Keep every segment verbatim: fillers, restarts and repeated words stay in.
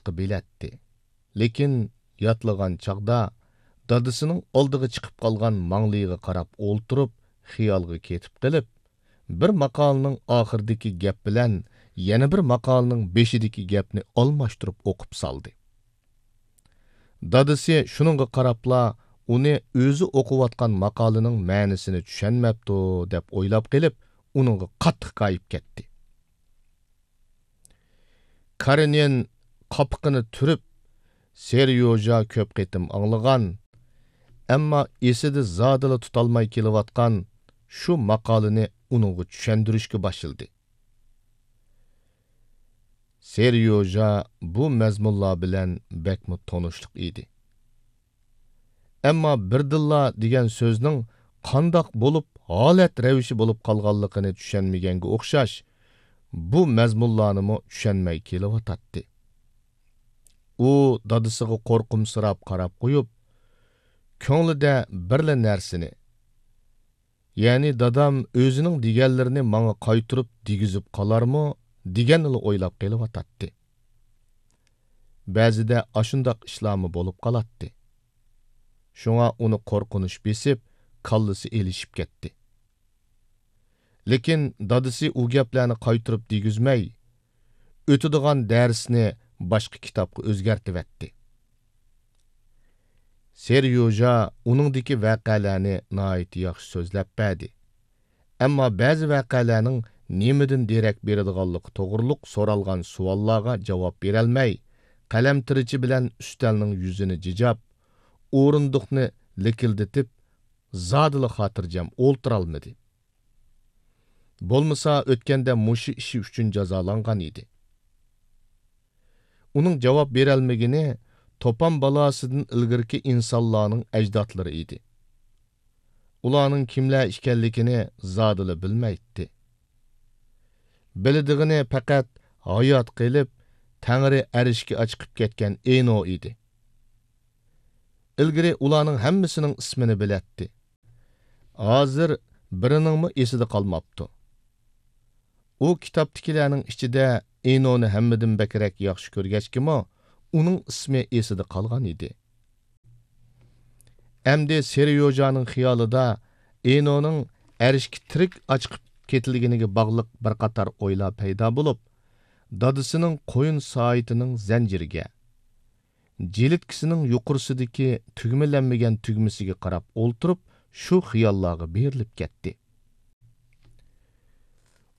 ياتلىققا بىلەتتى. لېكىن ياتلىغان چاغدا دادىسىنىڭ ئالدىغا چىقىپ قالغان ماڭلىيىغا قاراپ ئولتۇرۇپ، خىيالغا كېتىپ قېلىپ، بىر ماقالىنىڭ ئاخىرىدىكى گەپ بىلەن يەنە بىر ماقالىنىڭ بېشىدىكى گەپنى ئالماشتۇرۇپ ئوقۇپ سالدى. دادىسى شۇنىڭغا قاراپلا، ئۇنى ئۆزى ئوقۇۋاتقان ماقالىنىڭ مەنىسىنى چۈشەنمەپتۇ، دەپ ئويلاپ قېلىپ، ئۇنىڭغا قاتتىق ھىكايىپ كەتتى. كارېنىن قاپىقىنى تۈرۈپ، سېريوژا كۆپ قېتىم ئاڭلىغان، ئەمما ئېسىدە زادىلا تۇتالماي كېلىۋاتقان شۇ ماقالىنى ئۇنىڭغا چۈشەندۈرۈشكە باشلىدى. سېريوژا بۇ مەزمۇنلار بىلەن بەكمۇ تونۇشلۇق ئىدى. ئەمما بىردىنلا دېگەن سۆزنىڭ قانداق بولۇپ، ھالەت رەۋىشى بولۇپ قالغانلىقىنى چۈشەنمىگەنگە ئوخشاش، بۇ مەزمۇنلارنىمۇ چۈشەنمەي كېلىۋاتاتتى. ئۇ دادىسىغا قورقۇمسىراپ قاراپ قويۇپ، كۆڭلىدە بىرلا نەرسىنى، يەنى دادام ئۆزىنىڭ دېگەنلىرىنى ماڭا قايتۇرۇپ دېگۈزۈپ قالارمۇ دېگەننىلا ئويلاپ قېلىۋاتاتتى. بەزىدە ئاشۇنداق ئىشلارمۇ بولۇپ قالاتتى. شۇڭا ئۇنى قورقۇنچ بېسىپ، كاللىسى ئېلىشىپ كەتتى. لېكىن دادىسى ئۇ گەپلەرنى قايتۇرۇپ دېگۈزمەي، ئۆتىدىغان دەرسنى باشقا كىتابقا ئۆزگەرتىۋەتتى. سېريوژا ئۇنىڭدىكى ۋەقەلەرنى ناھايىتى ياخشى سۆزلەپ بەردى. ئەمما بەزى ۋەقەلەرنىڭ نېمىدىن دېرەك بېرىدىغانلىقى توغرۇلۇق سورالغان سوئاللارغا جاۋاب بېرەلمەي، قەلەمتىرىچى بىلەن ئۈستەلنىڭ يۈزىنى جىجاپ، ئورۇندۇقنى لىكىلدىتىپ، زادىلا خاتىرجەم ئولتۇرالمىدى. بولمىسا ئۆتكەندە مۇشۇ ئىشى ئۈچۈن جازالانغان ئىدى. ئۇنىڭ جاۋاب بېرەلمىگىنى توپان بالاسىدىن ئىلگىرىكى ئىنسانلارنىڭ ئەجدادلىرى ئىدى. ئۇلارنىڭ كىملەر ئىكەنلىكىنى زادىلا بىلمەيتتى. بىلىدىغىنى پەقەت ھايات قېلىپ، تەڭرى ئەرشكە ئاچىقىپ كەتكەن ئېنو ئىدى. ئىلگىرى ئۇلارنىڭ ھەممىسىنىڭ ئىسمىنى بىلەتتى. ھازىر بىرىنىڭمۇ ئېسىدە قالماپتۇ. ئۇ كىتابتىكىلەرنىڭ ئىچىدە ئېنونى ھەممىدىن بەكرەك ياخشى كۆرگەچكىمۇ، ئۇنىڭ ئىسمى ئېسىدە قالغان ئىدى. ئەمدى سېريوژانىڭ خىيالىدا ئېنونىڭ ئەرشكە تىرىك ئاچىقىپ كېتىلگىنىگە باغلىق بىر قاتار ئويلار پەيدا بولۇپ، دادىسىنىڭ قويۇن سائىتىنىڭ زەنجىرىگە، جىلىتكىسىنىڭ يۇقىرىسىدىكى تۈگمىلەنمىگەن تۈگمىسىگە قاراپ ئولتۇرۇپ، شۇ خىياللارغا بېرىلىپ كەتتى.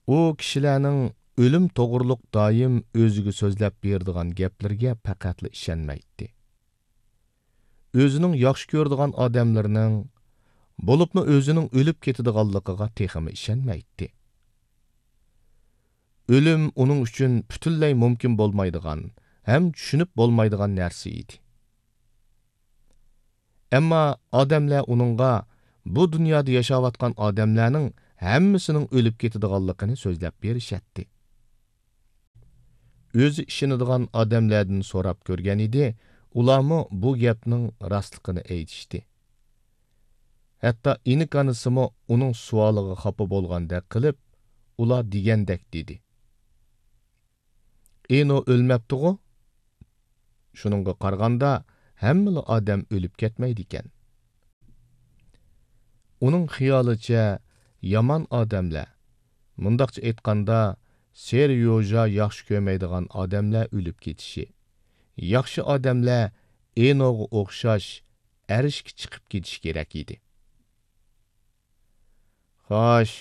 ئۇ كىشىلەرنىڭ ئۆلۈم توغرۇلۇق دائىم ئۆزىگە سۆزلەپ بېرىدىغان گەپلىرىگە پەقەتلا ئىشەنمەيتتى. ئۆزىنىڭ ياخشى كۆرىدىغان ئادەملىرىنىڭ، بولۇپمۇ ئۆزىنىڭ ئۆلۈپ كېتىدىغانلىقىغا تېخىمۇ ئىشەنمەيتتى. ئۆلۈم ئۇنىڭ ئۈچۈن پۈتۈنلەي مۇمكىن بولمايدىغان ھەم چۈشىنىپ بولمايدىغان نەرسە ئىدى. ئەمما ئادەملەر ئۇنىڭغا بۇ دۇنيادا ياشاۋاتقان ئادەملەرنىڭ ھەممىسىنىڭ ئۆلۈپ كېتىدىغانلىقىنى سۆزلەپ بېرىشەتتى. ئۆزى ئىشىنىدىغان ئادەملەردىن سوراپ كۆرگەن ئىدى، ئۇلارمۇ بۇ گەپنىڭ راستلىقىنى ئېيتىشتى. ھەتتا ئىنىك ئانىسىمۇ ئۇنىڭ سوئالىغا خاپا بولغاندەك قىلىپ، ئۇلار دېگەندەك دېدى. ئېنو ئۆلمەپتىغۇ؟ شۇنىڭغا قارىغاندا، ھەممىلا ئادەم ئۆلۈپ كەتمەيدىكەن. ئۇنىڭ خىيالىچە، يامان ئادەملەر، مۇنداقچە ئېيتقاندا، سېريوژا ياخشى كۆرمەيدىغان ئادەملەر ئۆلۈپ كېتىشى، ياخشى ئادەملەر ئېنوغا ئوخشاش ئەرشكە چىقىپ كېتىشى كېرەك ئىدى. خوش،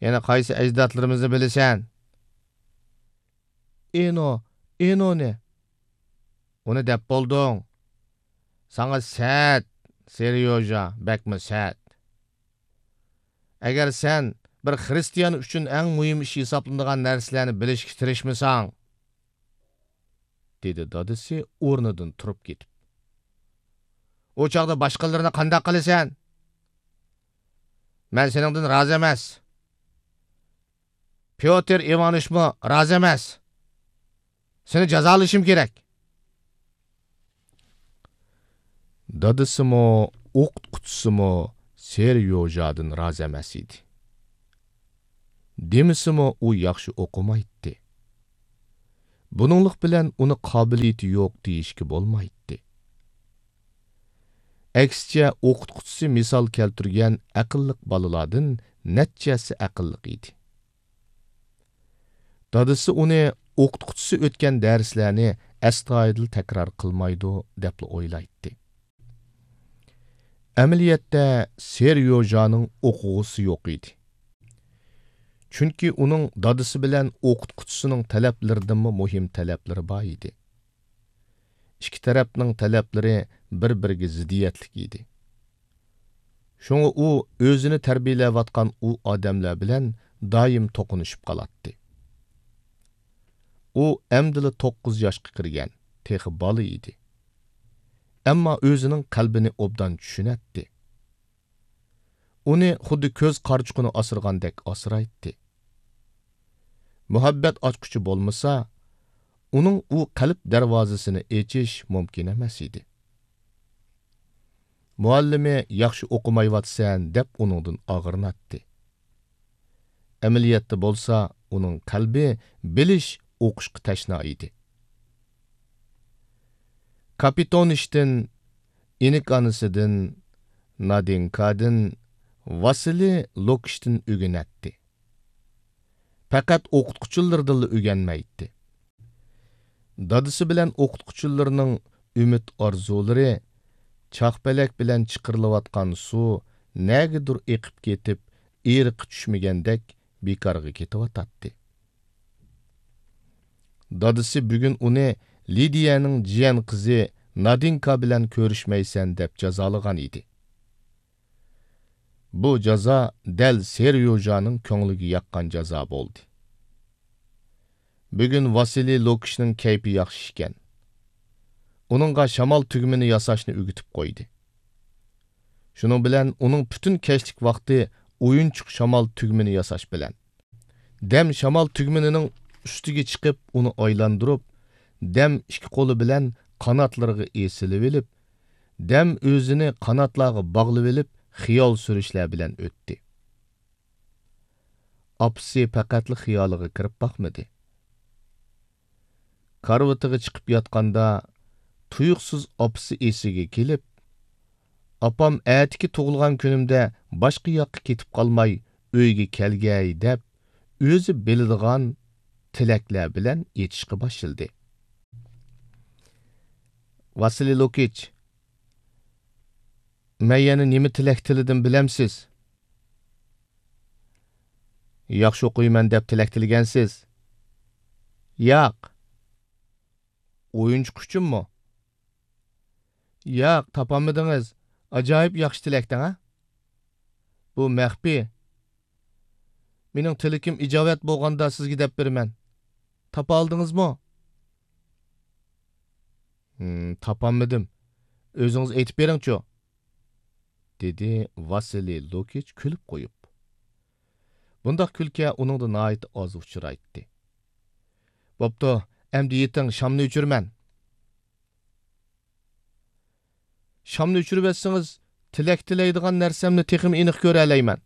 يەنە قايسى ئەجدادلىرىمىزنى بىلىسەن؟ ئېنو، ئېنونى. ئۇنى دەپ بولدۇڭ. ساڭا سەت، سېريوژا، بەكمۇ سەت. ئەگەر سەن بىر خىرىستىيان ئۈچۈن ئەڭ مۇھىم ئىش ھېسابلىنىدىغان نەرسىلەرنى بىلىشكە تىرىشمىساڭ، دېدى دادىسى ئورنىدىن تۇرۇپ كېتىپ. ئۇ چاغدا باشقىلىرىنى قانداق قىلىسەن؟ مەن سېنىڭدىن رازى ئەمەس. پيوتىر ئىۋانىچمۇ رازى ئەمەس. سېنى جازالىشىم كېرەك. دادىسىمۇ، ئوقۇتقۇچىسىمۇ سېريوژادىن رازى ئەمەس ئىدى. دېمىسىمۇ، ئۇ ياخشى ئوقۇمايتتى. بۇنىڭلىق بىلەن ئۇنى قابىلىيىتى يوق دېيىشكە بولمايتتى. ئەكسىچە، ئوقۇتقۇچىسى مىسال كەلتۈرگەن ئەقىللىق بالىلاردىن نەچچە ھەسسە ئەقىللىق ئىدى. دادىسى ئۇنى ئوقۇتقۇچىسى ئۆتكەن دەرسلەرنى ئەستايىدىل تەكرار قىلمايدۇ دەپلا ئويلايتتى. ئەمەلىيەتتە سېريوژانىڭ ئوقۇغۇسى يوق ئىدى. چۈنكى ئۇنىڭ دادىسى بىلەن ئوقۇتقۇچىسىنىڭ تەلەپلىرىدىنمۇ مۇھىم تەلەپلىرى بار ئىدى. ئىككى تەرەپنىڭ تەلەپلىرى بىر-بىرىگە زىددىيەتلىك ئىدى. شۇڭا ئۇ ئۆزىنى تەربىيەلەۋاتقان ئۇ ئادەملەر بىلەن دائىم توقۇنۇشۇپ قالاتتى. ئۇ ئەمدىلا توققۇز ياشقا كىرگەن، تېخى بالا ئىدى. ئەمما ئۆزىنىڭ قەلبىنى ئوبدان چۈشىنەتتى. ئۇنى خۇددى كۆز قارىچۇقىنى ئاسرىغاندەك ئاسرايتتى. مۇھەببەت ئاچقۇچى بولمىسا، ئۇنىڭ ئۇ قەلب دەرۋازىسىنى ئېچىش مۇمكىن ئەمەس ئىدى. مۇئەللىمى «ياخشى ئوقۇمايۋاتىسەن» دەپ ئۇنىڭدىن ئاغرىناتتى. ئەمەلىيەتتە بولسا ئۇنىڭ قەلبى بىلىش، ئوقۇشقا تەشنا ئىدى. كاپىتونىشتىن، ئىنىك ئانىسىدىن، نادىنكادىن، ۋاسىلىي لوكىچتىن ئۆگىنەتتى. پەقەت ئوقۇتقۇچىلىرىدىنلا ئۆگەنمەيتتى. دادىسى بىلەن ئوقۇتقۇچىلىرىنىڭ ئۈمىد-ئارزۇلىرى، چاقپەلەك بىلەن چىقىرىلىۋاتقان سۇ نەگىدۇر ئېقىپ كېتىپ، ئېرىقى چۈشمىگەندەك بىكارغا كېتىۋاتاتتى. دادىسى بۈگۈن ئۇنى لىدىيەنىڭ جىيەن قىزى نادىنكا بىلەن كۆرۈشمەيسەن دەپ جازالىغان ئىدى. بۇ جازا دەل سېريوژانىڭ كۆڭلىگە ياققان جازا بولدى. بۈگۈن ۋاسىلىي لوكىچنىڭ كەيپى ياخشى ئىكەن. ئۇنىڭغا شامال تۈگمىنى ياساشنى ئۆگىتىپ قويدى. شۇنىڭ بىلەن ئۇنىڭ پۈتۈن كەچلىك ۋاقتى ئويۇنچۇق شامال تۈگمىنى ياساش بىلەن. دەم شامال تۈگمىنىنىڭ ئۈستىگە چىقىپ، ئۇنى ئايلاندۇرۇپ، دەم ئىككى قولى بىلەن قاناتلىرىغا ئېسىلىۋېلىپ، دەم ئۆزىنى قاناتلارغا باغلىۋېلىپ، خىيال سۈرۈشلەر بىلەن ئۆتتى. ئاپىسى پەقەتلا خىيالىغا كىرىپ باقمىدى. كارىۋىتىغا چىقىپ ياتقاندا، تۇيۇقسىز ئاپىسى ئېسىگە كېلىپ، «ئاپام ئەتىكى تۇغۇلغان كۈنۈمدە باشقا ياققا كېتىپ قالماي، ئۆيگە كەلگەي» دەپ، ئۆزى بىلىدىغان تىلەكلەر بىلەن ئېيتىشقا باشلىدى. «ۋاسىلىي لوكىچ، مەن يەنە نېمە تىلەك تىلىدىم بىلەمسىز؟» «ياخشى ئوقۇيمەن دەپ تىلەك تىلىگەنسىز.» «ياق.» «ئويۇنچۇق ئۈچۈنمۇ؟» «ياق، تاپالمىدىڭىز. ئاجايىپ ياخشى تىلەكتىڭ ھە؟ بۇ مەخپىي. مېنىڭ تىلىكىم ئىجابەت بولغاندا سىزگە دەپ بېرىمەن. تاپالدىڭىزمۇ؟» «ھىم، تاپالمىدىم. ئۆزىڭىز ئېيتىپ بېرىڭچۇ؟» دېدى ۋاسىلىي لوكىچ كۈلۈپ قويۇپ. بۇنداق كۈلكە ئۇنىڭدا ناھايىتى ئاز ئۇچرايتتى. «بوپتۇ، ئەمدى يېتىڭ، شامنى ئۆچۈرىمەن.» «شامنى ئۆچۈرۈۋەتسىڭىز، تىلەك تىلەيدىغان نەرسەمنى تېخىمۇ ئېنىق كۆرەلەيمەن.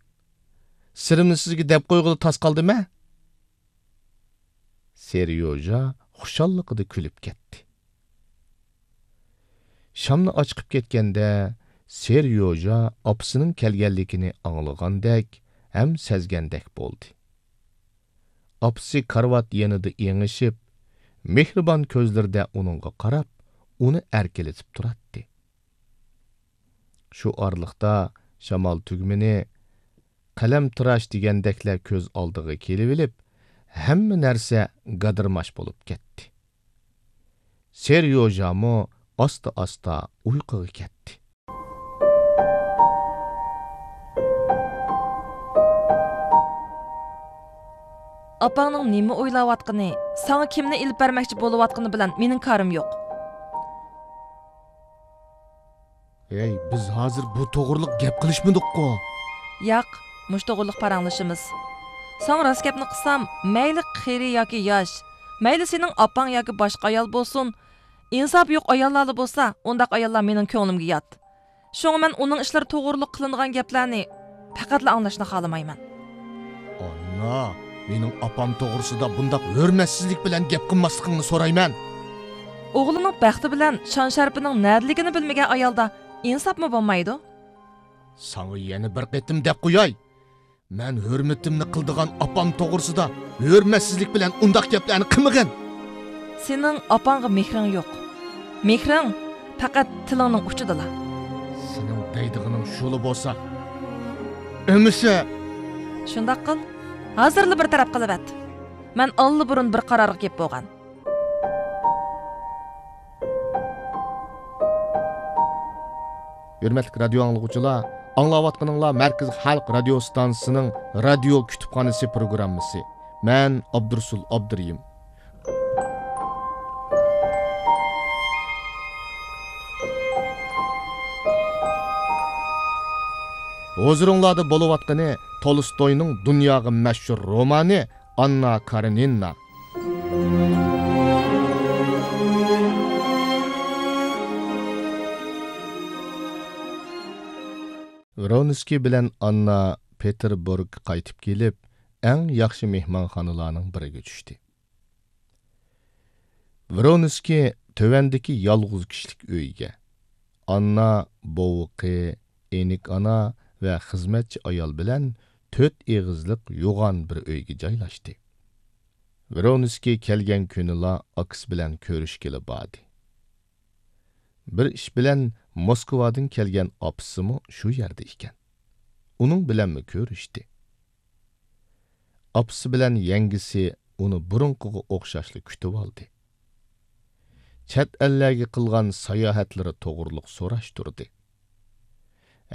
سىرىمنى سىزگە دەپ قويغىلى تاس قالدىمەن.» سېريوژا خۇشاللىقىدا كۈلۈپ كەتتى. شامنى ئاچىقىپ كەتكەندە، سېريوژا ئاپىسىنىڭ كەلگەنلىكىنى ئاڭلىغاندەك ھەم سەزگەندەك بولدى. ئاپىسى كارىۋات يېنىدا ئېڭىشىپ، مېھرىبان كۆزلىرىدە ئۇنىڭغا قاراپ، ئۇنى ئەركىلىتىپ تۇراتتى. شۇ ئارىلىقتا شامال تۈگمىنى، قەلەمتىراش دېگەندەكلەر كۆز ئالدىغا كېلىۋېلىپ، ھەممە نەرسە گادىرماش بولۇپ كەتتى. سېريوژامۇ ئاستا-ئاستا ئۇيقۇغا كەتتى. ئاپاڭنىڭ نېمە ئويلاۋاتقىنى، ساڭا كىمنى ئېلىپ بەرمەكچى بولۇۋاتقىنى بىلەن مېنىڭ كارىم يوق. ھەي، بىز ھازىر بۇ توغرىلىق گەپ قىلىشمىدۇققۇ؟ ياق، مۇشۇ توغرىلىق پاراڭلىشىمىز. ساڭا راست گەپنى قىلسام، مەيلى قېرى ياكى ياش، مەيلى سېنىڭ ئاپاڭ ياكى باشقا ئايال بولسۇن، ئىنساپى يوق ئاياللارلا بولسا، ئۇنداق ئاياللار مېنىڭ كۆڭلۈمگە يات. شۇڭا مەن ئۇنىڭ ئىشلىرى توغرىلىق قىلىنغان گەپلەرنى پەقەتلا ئاڭلاشنى خالىمايمەن. ئانا، مېنىڭ ئاپام توغرىسىدا بۇنداق ھۆرمەتسىزلىك بىلەن گەپ قىلماسلىقىڭنى سورايمەن. ئوغلىنىڭ بەختى بىلەن شان-شەرىپىنىڭ نەدىلىكىنى بىلمىگەن ئايالدا ئىنساپمۇ بولمايدۇ. ساڭا يەنە بىر قېتىم دەپ قوياي. مەن ھۆرمىتىمنى قىلىدىغان ئاپام توغرىسىدا ھۆرمەتسىزلىك بىلەن ئۇنداق گەپلەرنى قىلمىغىن. سېنىڭ ئاپاڭغا مېھرىڭ يوق. مېھرىڭ پەقەت تىلىڭنىڭ ئۇچىدىلا. سېنىڭ دەيدىغىنىڭ شۇلا بولسا، ئەمىسە. شۇنداق قىل. ھازىرلا بىر تەرەپ قىلىۋەت. مەن ئاللىبۇرۇن بىر قارارغا كېلىپ بولغان. ھۆرمەتلىك رادىيو ئاڭلىغۇچىلار، ئاڭلاۋاتقىنىڭلار مەركىزىي خەلق رادىيو ستانسىسىنىڭ رادىيو كۇتۇپخانىسى پروگراممىسى. مەن ئابدۇرۇسۇل ئابدۇرېھىم. ھۇزۇرۇڭلاردا بولۇۋاتقىنى تولستوينىڭ دۇنياغا مەشھۇر رومانى ئاننا كارېنىنا. ۋرونسكىي بىلەن ئاننا پېتېربۇرگقا قايتىپ كېلىپ، ئەڭ ياخشى مېھمانخانىلارنىڭ بىرىگە چۈشتى. ۋرونسكىي تۆۋەندىكى يالغۇز كىشىلىك ئۆيگە، ئاننا، بوۋىقى، ئېنىك ئانا ۋە خىزمەتچى ئايال بىلەن تۆت ئېغىزلىق يوغان بىر ئۆيگە جايلاشتى. ۋرونسكىي كەلگەن كۈنىلا ئاكىسى بىلەن كۆرۈشكىلى باردى. بىر ئىش بىلەن موسكۋادىن كەلگەن ئاپىسىمۇ شۇ يەردە ئىكەن. ئۇنىڭ بىلەنمۇ كۆرۈشتى. ئاپىسى بىلەن يەڭگىسى ئۇنى بۇرۇنقىغا ئوخشاشلا كۈتۈۋالدى. چەت ئەللەرگە قىلغان ساياھەتلىرى توغرۇلۇق سوراشتۇردى.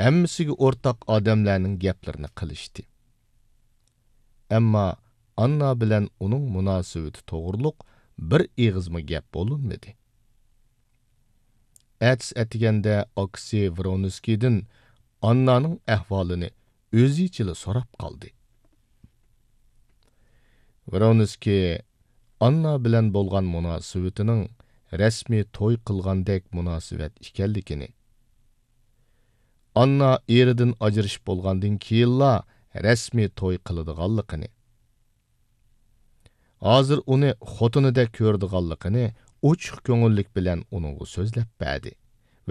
ھەممىسىگە ئورتاق ئادەملەرنىڭ گەپلىرىنى قىلىشتى. ئەمما ئاننا بىلەن ئۇنىڭ مۇناسىۋىتى توغرۇلۇق بىر ئېغىزمۇ گەپ بولۇنمىدى. ئەتىسى ئەتىگەندە ئاكىسى ۋرونسكىيدىن ئاننانىڭ ئەھۋالىنى ئۆزىچىلا سوراپ قالدى. ۋرونسكىي ئاننا بىلەن بولغان مۇناسىۋىتىنىڭ رەسمىي توي قىلغاندەك مۇناسىۋەت ئىكەنلىكىنى، ئاننا ئېرىدىن ئاجرىشىپ بولغاندىن كېيىنلا رەسمىي توي قىلىدىغانلىقىنى، ھازىر ئۇنى خوتۇنىدەك كۆرىدىغانلىقىنى ئوچۇق كۆڭۈللۈك بىلەن ئۇنىڭغا سۆزلەپ بەردى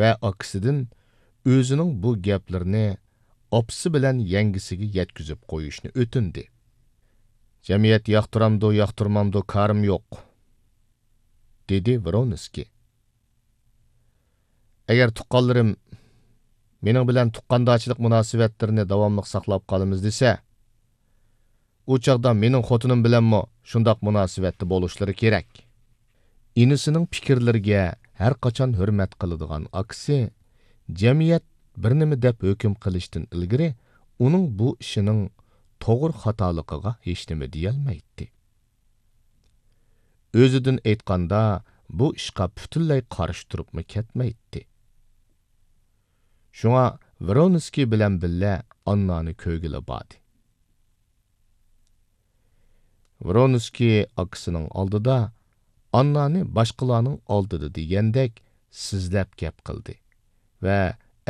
ۋە ئاكىسىدىن ئۆزىنىڭ بۇ گەپلىرىنى ئاپىسى بىلەن يەڭگىسىگە يەتكۈزۈپ قويۇشنى ئۆتۈندى. «جەمئىيەت ياقتۇرامدۇ، ياقتۇرمامدۇ، كارىم يوق»، دېدى ۋرونسكىي. «ئەگەر تۇغقانلىرىم مېنىڭ بىلەن تۇغقاندارچىلىق مۇناسىۋەتلىرىنى داۋاملىق ساقلاپ قالىمىز دېسە، ئۇ چاغدا مېنىڭ خوتۇنۇم بىلەنمۇ شۇنداق مۇناسىۋەتتە بولۇشلىرى كېرەك.» ئىنىسىنىڭ پىكىرلىرىگە ھەرقاچان ھۆرمەت قىلىدىغان ئاكىسى جەمئىيەت بىر نېمە دەپ ھۆكۈم قىلىشتىن ئىلگىرى ئۇنىڭ بۇ ئىشىنىڭ توغرا خاتالىقىغا ھېچنېمە دېيەلمەيتتى. ئۆزىدىن ئېيتقاندا، بۇ ئىشقا پۈتۈنلەي قارشى تۇرۇپمۇ كەتمەيتتى. شۇڭا ۋرونسكىي بىلەن بىللە ئاننانى كۆرگىلى باردى. ۋرونسكىي ئاكىسىنىڭ ئالدىدا، ئاننانى باشقىلارنىڭ ئالدىدا دېگەندەك سىزلەپ گەپ قىلدى ۋە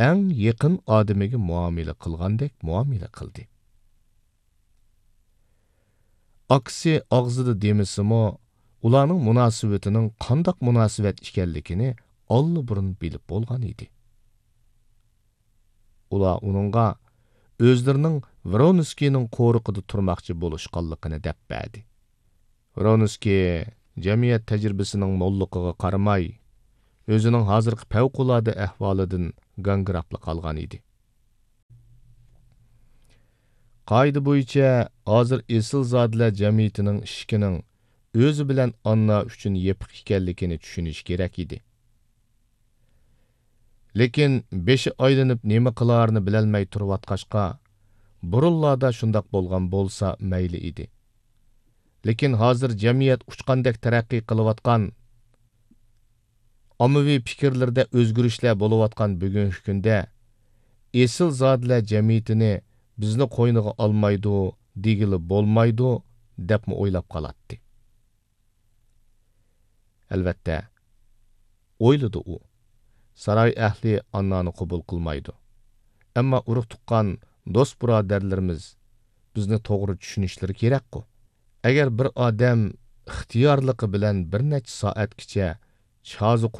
ئەڭ يېقىن ئادىمىگە مۇئامىلە قىلغاندەك مۇئامىلە قىلدى. ئاكىسى ئاغزىدا دېمىسىمۇ، ئۇلارنىڭ مۇناسىۋىتىنىڭ قانداق مۇناسىۋەت ئىكەنلىكىنى ئاللىبۇرۇن بىلىپ بولغان ئىدى. ئۇلار ئۇنىڭغا ئۆزلىرىنىڭ ۋرونسكىينىڭ قورۇقىدا تۇرماقچى بولۇشقانلىقىنى دەپ بەردى. ۋرونسكىي جەمئىيەت تەجرىبىسىنىڭ موللۇقىغا قارىماي، ئۆزىنىڭ ھازىرقى پەۋقۇلئاددە ئەھۋالىدىن گاڭگىراپلا قالغان ئىدى. قائىدە بويىچە، ھازىر ئېسىلزادىلەر جەمئىيىتىنىڭ ئىشىكىنىڭ ئۆزى بىلەن ئاننا ئۈچۈن يېپىق ئىكەنلىكىنى چۈشىنىشى كېرەك ئىدى. لېكىن بېشى ئايلىنىپ نېمە قىلارىنى بىلەلمەي تۇرۇۋاتقاچقا، بۇرۇنلاردا شۇنداق بولغان بولسا مەيلى ئىدى. لېكىن ھازىر جەمئىيەت ئۇچقاندەك تەرەققىي قىلىۋاتقان، ئاممىۋى پىكىرلىرىدە ئۆزگىرىشلەر بولۇۋاتقان بۈگۈنكى كۈندە، ئېسىلزادىلەر جەمئىيىتىنى بىزنى قوينىغا ئالمايدۇ، دېگىلى بولمايدۇ، دەپمۇ ئويلاپ قالاتتى. ئەلۋەتتە، ئويلىدى ئۇ، ساراي ئەھلى ئاننانى قوبۇل قىلمايدۇ. ئەمما ئۇرۇق-تۇغقان، دوست-بۇرادەرلىرىمىز بىزنى توغرا چۈشىنىشلىرى كېرەكقۇ. ئەگەر بىر ئادەم ئىختىيارلىقى بىلەن بىر نەچچە سائەتكىچە چازا